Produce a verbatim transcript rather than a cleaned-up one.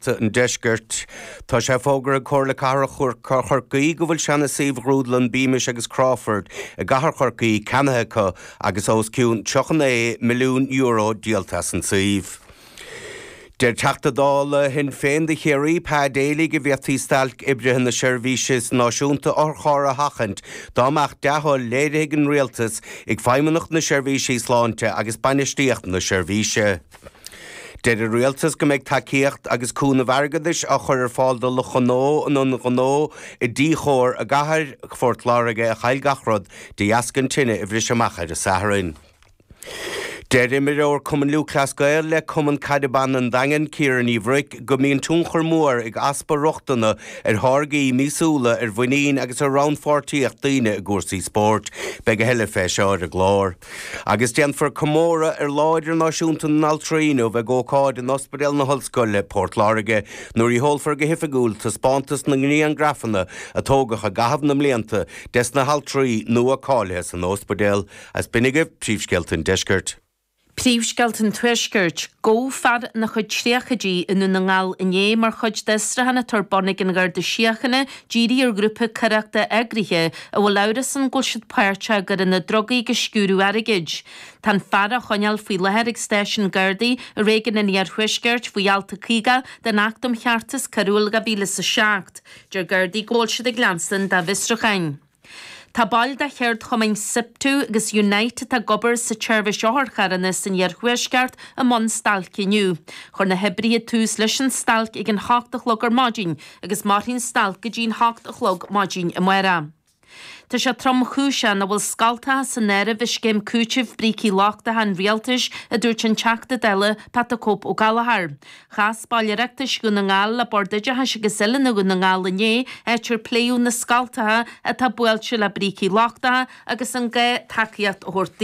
Príomhscéalta an Deiscirt. Tá sé fógartha ag Comhairle Cathrach Chorcaí go bhfuil seana-suíomh ghrúdlann Beamish agus Crawford i gcathair Chorcaí ceannaithe acu agus os cionn tríocha naoi milliún euro díolta as an suíomh. Deir Teachta Dála Shinn Féin do Chiarraí Pa Daly go bhféadfaí stailc oibrithe na seirbhíse náisiúnta otharcharr a sheachaint dá mbeadh dea-thoil léirithe ag an rialtas ag Feidhmeannacht na Seirbhísí Sláinte agus bainistíocht na seirbhíse. Deir an rialtas go mbeidh tacaíocht agus cúnamh airgeadais á chur ar fáil do lucht gnó an ionaid ghnó i dTí Chóir i gcathair Phort Láirge a chaill gach rud de dheasca an tine a bhris amach ar an Satharn. Deir imreoir Cumann Lúthchleas Gael le Cumann Caide Ban an Daingin Ciara Ní Bhruic go mbíonn tionchar mór ag easpa rochtana ar tháirgí míosúla ar mhuinín agus ar rannpháirtíocht daoine i gcúrsaí spóirt. Beidh a thuilleadh fé seo ar an gclár. Agus déanfar comóradh ar Lá Idirnáisiúnta na nAltraí inniu ag ócáid in Ospidéal na hOllscoile, Port Láirge, nuair a sheolfar go hoifigiúil taispeántas na ngriangrafanna a tógadh i gcaitheamh na mblianta des na haltraí nua cáilithe san ospidéal. Is b'in agaibh príomhscéalta an Deiscirt. Príomhscéalta an Tuaiscirt, Gabhadh fear ina chuid tríochaidí i nDún na nGall inné mar chuid d'fhiosrúchán atá ar bun ag an Gharda Síochána dírithe ar ghrúpa coireachta eagraithe a bhfuil amhras ann go bhfuil siad páirteach i gcoireanna drugaí agus sciúradh airgid. Tá an fear á choinneáil faoi láthair ag stáisiún Gardaí i réigiún an Iarthuaiscirt faoi alt a caoga den Acht um Cheartas Coiriúil dhá mhíle is a seacht. Deir Gardaí go bhfuil siad ag leanstan dá bhfiosrúcháin. Tá baill de cheardchumainn Siptu agus Unite atá ag obair sa tseirbhís otharcharranna san iarthuaisceart i mbun stailce inniu. Chuir na hoibrithe tús leis an stailc ag an hocht a chlog ar maidin agus mairfidh an stailc go dtí an hocht a chlog maidin amárach. Tá sé tromchúiseach nach bhfuil scoltacha san áireamh i scéim cúitimh brící lochtacha an rialtais, a dúirt an Teachta Dála Pat the Cope Ó Gallchóir. Chas baill Oireachtais Dhún na nGall le Bord Oideachais agus Oiliúna Dhún na nGall inné, áit ar pléadh na scoltacha atá buailte le brící lochtacha agus an gá tacaíocht a thabhairt